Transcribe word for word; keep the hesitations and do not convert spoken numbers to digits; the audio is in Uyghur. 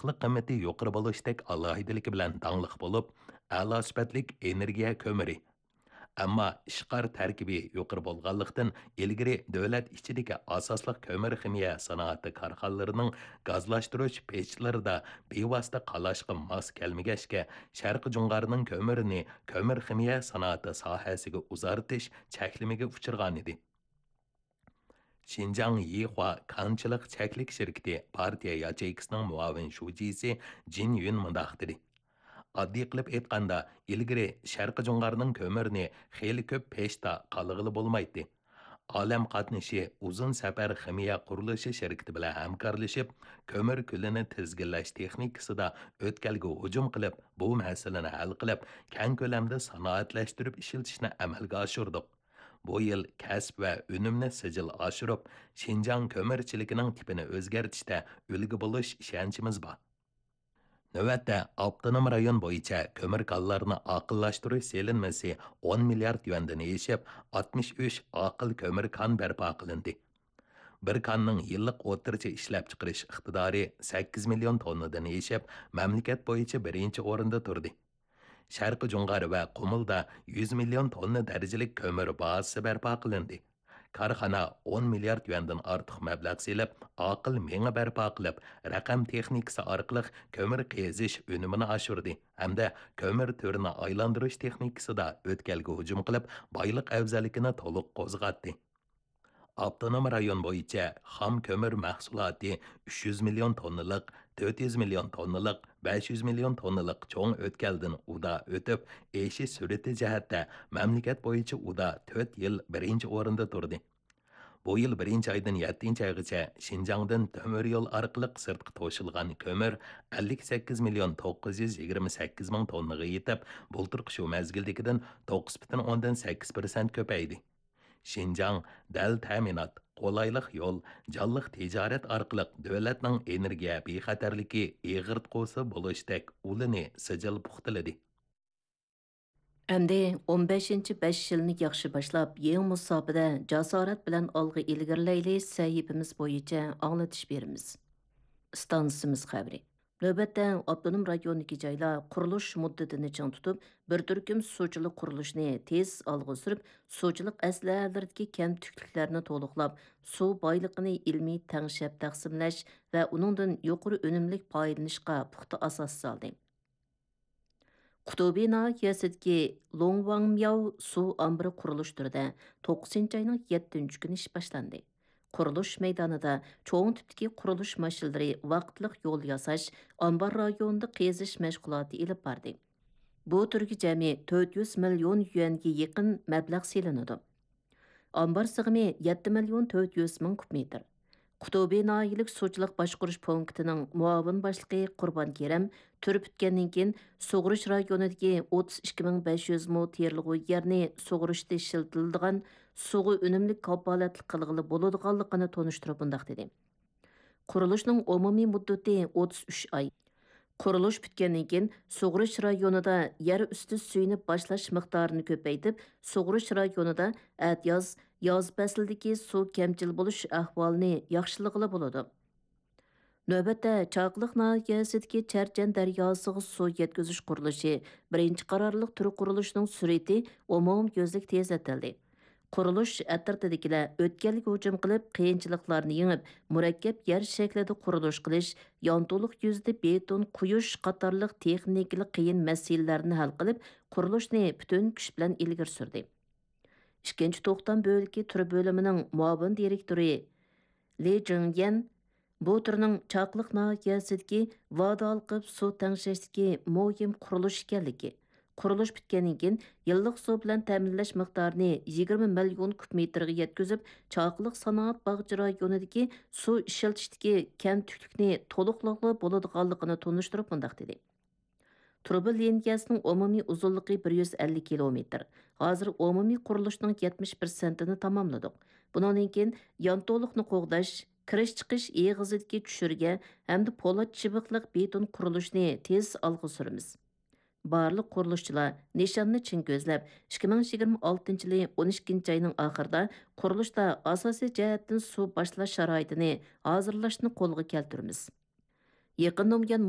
ئىسسىقلىق قىممىتى يۇقىرى بولۇشتەك ئالاھىدىلىكى بىلەن داڭلىق بولۇپ، ئەلا سۈپەتلىك ئېنېرگىيە كۆمۈرى. ئەمما ئىشقار تەركىبى يۇقىرى بولغانلىقتىن، ئىلگىرى دۆلەت ئىچىدىكى ئاساسلىق كۆمۈر خىمىيە سانائىتى كارخانىلىرىنىڭ گازلاشتۇرۇش پېچلىرىدا بىۋاسىتە قالاشقا ماس كەلمىگەچكە، شەرقىي جۇڭغارنىڭ كۆمۈرىنى كۆمۈر خىمىيە سانائىتى ساھەسىگە ئۇزارتىش چەكلىمىگە ئۇچرىغانىدى. شىنجاڭ يىخۇا كانچىلىق چەكلىك شىركىتى پارتىيە ياچېيكىسىنىڭ مۇئاۋىن شۇجىسى جىن يۈن مۇنداق دېدى: ئاددىي قىلىپ ئېيتقاندا، ئىلگىرى شەرقىي جۇڭغارنىڭ كۆمۈرىنى خېلى كۆپ پېچتا قالىغىلى بولمايتتى. ئالەم قاتنىشى ئۇزۇن سەپەر خىمىيە قۇرۇلۇشى شىركىتى بىلەن ھەمكارلىشىپ، كۆمۈر كۈلىنى تىزگىنلەش تېخنىكىسىدا ئۆتكەلگە ھۇجۇم قىلىپ، بۇ مەسىلىنى ھەل قىلىپ، كەڭ كۆلەمدە سانائەتلەشتۈرۈپ ئىشلىتىشنى ئەمەلگە ئاشۇردۇق. بۇ يىل كەسىپ ۋە ئۈنۈمنى سىجىل ئاشۇرۇپ، شىنجاڭ كۆمۈرچىلىكىنىڭ تىپىنى ئۆزگەرتىشتە ئۈلگە بولۇش ئىشەنچىمىز بار. نۆۋەتتە ئاپتونوم رايون بويىچە كۆمۈر كانلارنى ئاقىللاشتۇرۇش سېلىنمىسى ئون مىليارد يۈەندىن ئېشىپ، ئاتمىش ئۈچ ئاقىل كۆمۈر كان بەرپا قىلىندى. بىر كاننىڭ يىللىق ئوتتۇرىچە ئىشلەپچىقىرىش ئىقتىدارى سەككىز مىليون توننىدىن ئېشىپ، مەملىكەت بويىچە بىرىنچى ئورۇندا تۇردى. شەرقىي جۇڭغار ۋە قۇمۇلدا يۈز مىليون توننا دەرىجىلىك كۆمۈر بازىسى بەرپا قىلىندى. كارخانا ئون مىليارد يۈەندىن ئارتۇق مەبلەغ سېلىپ، ئاقىل مېڭە بەرپا قىلىپ، رەقەم تېخنىكىسى ئارقىلىق كۆمۈر قېزىش ئۈنۈمىنى ئاشۇردى ھەمدە كۆمۈر تۈرىنى ئايلاندۇرۇش تېخنىكىسىدا ئۆتكەلگە ھۇجۇم قىلىپ، بايلىق ئەۋزەللىكىنى تولۇق قوزغاتتى. ئاپتونوم رايون بويىچە خام كۆمۈر مەھسۇلاتى ئۈچ يۈز مىليون توننىلىق، تۆت يۈز مىليون توننىلىق، بەش يۈز مىليون توننىلىق چوڭ ئۆتكەلدىن ئۇدا ئۆتۈپ، ئېشىش سۈرئىتى جەھەتتە مەملىكەت بويىچە ئۇدا تۆت يىل بىرىنچى ئورۇندا تۇردى. بۇ يىل بىرىنچى ئايدىن يەتتىنچى ئايغىچە شىنجاڭدىن تۆمۈر يول ئارقىلىق سىرتقا توشۇلغان كۆمۈر ئەللىك سەككىز مىليون توققۇز يۈز يىگىرمە سەككىز مىڭ توننىغا يېتىپ، بۇلتۇرقى شۇ مەزگىلدىكىدىن توققۇز پۈتۈن ئوندىن سەككىز پىرسەنت كۆپەيدى. شىنجاڭ دەل تەمىنات، قولايلىق يول، جانلىق تىجارەت ئارقىلىق دۆلەتنىڭ ئېنېرگىيە بىخەتەرلىكى ئېغىرتقۇسى بولۇشتەك ئۇلىنى سىجىل پۇختىلىدى. ئەمدى ئون بەشىنچى بەش يىلنى ياخشى باشلاپ، يېڭى مۇساپىدە جاسارەت بىلەن ئالغا ئىلگىرىلەيلى سەھىپىمىز بويىچە ئاڭلىتىش بېرىمىز. ئىستانسىمىز خەۋىرى. نۆۋەتتە ئاپتونوم رايوندىكى جايلار قۇرۇلۇش مۇددىتىنى چىڭ تۇتۇپ، بىر تۈركۈم سۇچىلىق قۇرۇلۇشىنى تېز ئالغا سۈرۈپ، سۇچىلىق ئەسلىھەلىرىدىكى كەمتۈكلۈكلەرنى تولۇقلاپ، سۇ بايلىقىنى ئىلمىي تەڭشەپ تەقسىملەش ۋە ئۇنىڭدىن يۇقىرى ئۈنۈملۈك پايدىلىنىشقا پۇختا ئاساس سالدى. قۇتۇبى ناھىيەسىدىكى لوڭۋاڭمياۋ سۇ ئامبىرى قۇرۇلۇش تۈرىدە توققۇزىنچى ئاينىڭ يەتتىنچى كۈنى ئىش باشلاندى. قۇرۇلۇش مەيدانىدا چوڭ تىپتىكى قۇرۇلۇش ماشىنىلىرى ۋاقىتلىق يول ياساش، ئامبار رايونىدا قېزىش مەشغۇلاتى ئېلىپ باردى. بۇ تۈرگە جەمئىي تۆت يۈز مىليون يۈەنگە يېقىن مەبلەغ سېلىنىدۇ. ئامبار سىغىمى يەتتە مىليون تۆت يۈز مىڭ كۇب مېتىر. قۇتۇبى ناھىيەلىك سۇچىلىق باشقۇرۇش پونكىتىنىڭ مۇئاۋىن باشلىقى قۇربان كېرەم تۈر پۈتكەندىن كېيىن، سۇغۇرۇش رايونىدىكى ئوتتۇز ئىككى مىڭ بەش يۈز مو تېرىلغۇ يەرنى سۇغۇرۇشتا ئىشلىتىلىدىغان سۇغا ئۈنۈملۈك كاپالەتلىك قىلغىلى بولىدىغانلىقىنى تونۇشتۇرۇپ مۇنداق دېدى: قۇرۇلۇشنىڭ ئومۇمىي مۇددىتى ئوتتۇز ئۈچ ئاي. قۇرۇلۇش پۈتكەندىن كېيىن، سۇغۇرۇش رايونىدا يەر ئۈستى سۈيىنى باشلاش مىقدارىنى كۆپەيتىپ، سۇغۇرۇش رايونىدا ئەتىياز، ياز پەسلىدىكى سۇ كەمچىل بولۇش ئەھۋالىنى ياخشىلىغىلى بولىدۇ. نۆۋەتتە، چاقىلىق ناھىيەسىدىكى چەرچەن دەرياسىغا سۇ يەتكۈزۈش قۇرۇلۇشى بىرىنچى قارارلىق تۈر قۇرۇلۇشىنىڭ سۈرئىتى ئومۇميۈزلۈك تېزلىتىلدى. قۇرۇلۇش ئەترىتىدىكىلەر ئۆتكەلگە ھۇجۇم قىلىپ، قىيىنچىلىقلارنى يېڭىپ، مۇرەككەپ يەر شەكلىدە قۇرۇلۇش قىلىش، يانتۇلۇق يۈزىدە بېتون قۇيۇش قاتارلىق تېخنىكىلىق قىيىن مەسىلىلەرنى ھەل قىلىپ، قۇرۇلۇشنى پۈتۈن كۈچ بىلەن ئىلگىرى سۈردى. ئىككىنچى توختام بۆلىكى تۈر بۆلۈمىنىڭ مۇئاۋىن دىرېكتورى لى جىڭيەن بۇ تۈرنىڭ چاقىلىق ناھىيەسىدىكى ۋادە ھالقىپ سۇ تەڭشەشتىكى مۇھىم قۇرۇلۇش ئىكەنلىكى، قۇرۇلۇش پۈتكەندىن كېيىن يىللىق سۇ بىلەن تەمىنلەش مىقدارىنى يىگىرمە مىليون كۇب مېتىرغا يەتكۈزۈپ، چاقىلىق سانائەت باغچە رايونىدىكى سۇ ئىشلىتىشتىكى كەمتۈكلۈكنى تولۇقلىغىلى بولىدىغانلىقىنى تونۇشتۇرۇپ مۇنداق دېدى: تۇرۇبا لىنىيەسىنىڭ ئومۇمىي ئۇزۇنلۇقى بىر يۈز ئەللىك كىلومېتىر. ھازىر ئومۇمىي قۇرۇلۇشنىڭ يەتمىش پىرسەنتىنى تاماملىدۇق. بۇنىڭدىن كېيىن يانتۇلۇقنى قوغداش، كىرىش-چىقىش ئېغىزىدىكى چۈشۈرگە ھەمدە پولات چىۋىقلىق بېتون قۇرۇلۇشنى تېز ئالغا سۈرىمىز. بارلىق قۇرۇلۇشچىلار نىشاننى چىڭ كۆزلەپ، ئىككى مىڭ يىگىرمە ئالتىنچى يىلى ئون ئىككىنچى ئاينىڭ ئاخىرىدا قۇرۇلۇشتا ئاساسىي جەھەتتىن سۇ باشلاش شارائىتىنى ھازىرلاشنى قولغا كەلتۈرىمىز. يېقىندا بۇيان